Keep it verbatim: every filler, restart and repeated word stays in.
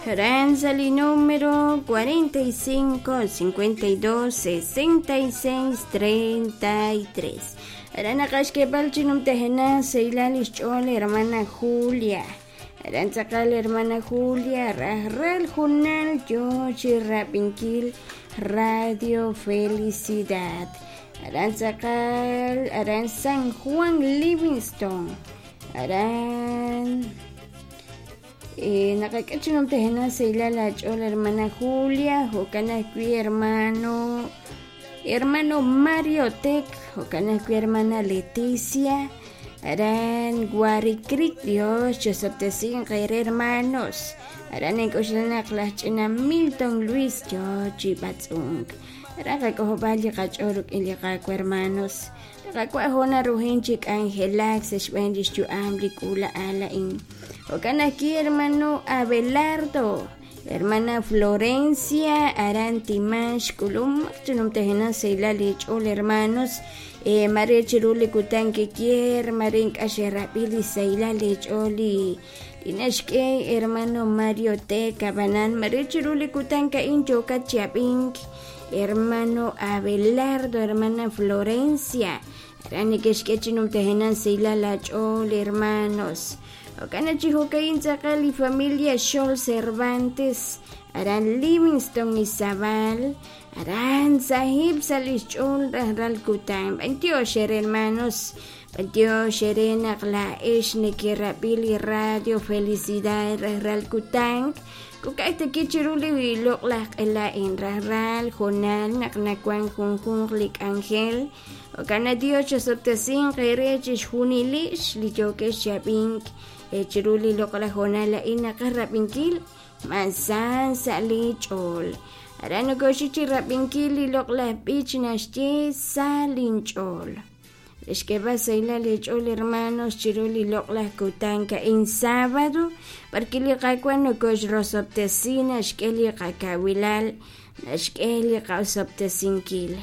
Aran sa li número cuarenta y cinco, cincuenta y dos, sesenta y seis, treinta y tres. Aran naqaxk'eeb'al chi numtajenaq sahilal lix ch'ool hermana Julia. Aran tz'aqal hermana Julia rajlal junal yoo chi rab'inkil Radio Felicidad. Aran tz'aqal aran San Juan Livingston. Aran naqak'e chi numtajenaq sahilal aach'ool hermana Julia, jo'kan ajwi' hermano hermano Mario Tec, jo'kan ajwi' hermana Leticia. Aran Guaricrit, Dios chosoptesin qere hermanos. Aran ink'uxlanaq laj ch'ina Milton Luis yo chi b'atz'unk. Aran qak'ojob'al li qach'ool rik'in li qaawa' hermanos. Qak'wa' jona rujin chi k'anjelak sa' xb'een lix yu'am li k'uula'al a'in. Jo'kan ajwi' hermano Abelardo, hermana Florencia, aran Timax, k'ulum chi numtajenaq sahilal li ch'ool hermanos. Eh, mare chiru li kutan kikier, mare ink'axerab'i li sahilal li ch'ool li naxk'e hermano Mario T. Cabanan, mare chiru li kutan ka'in yokat chiab'ink, hermano Abelardo, hermana Florencia, aran neke'xk'e chi numtajenaq sahilal aach'ool hermanos. Jo'kan chi jo'kain tz'aqal li familia Xol Cervantes, aran Livingston Izabal, aran sahib sa lix ch'ool rajlal kutan. B'antiox ere hermanos, b'antiox ere naq laa'ex nekerab'i li Radio Felicidad rajlal kutan. Kuk'aj taki chiru li loq'laj q'ela'in rajlal jonal naq nawan junjunq li k'anjel. Jo'kan Dios chosoptesin qere chixjunilix li yookex chab'ink chiru li loq'laj jonal a'in naqarab'inkil mansan sa li ch'ool. Aran nokoxik chi rab'inkil li loq'laj b'ich naxye sa linch'ool. Lix k'eeb'al sahilal li ch'ool hermanos chiru li loq'laj kutan ka'in sábado, porque li qaawa' nokoxrosoptesi naxk'e li qakawilal, naxk'e li qasoptesinkil.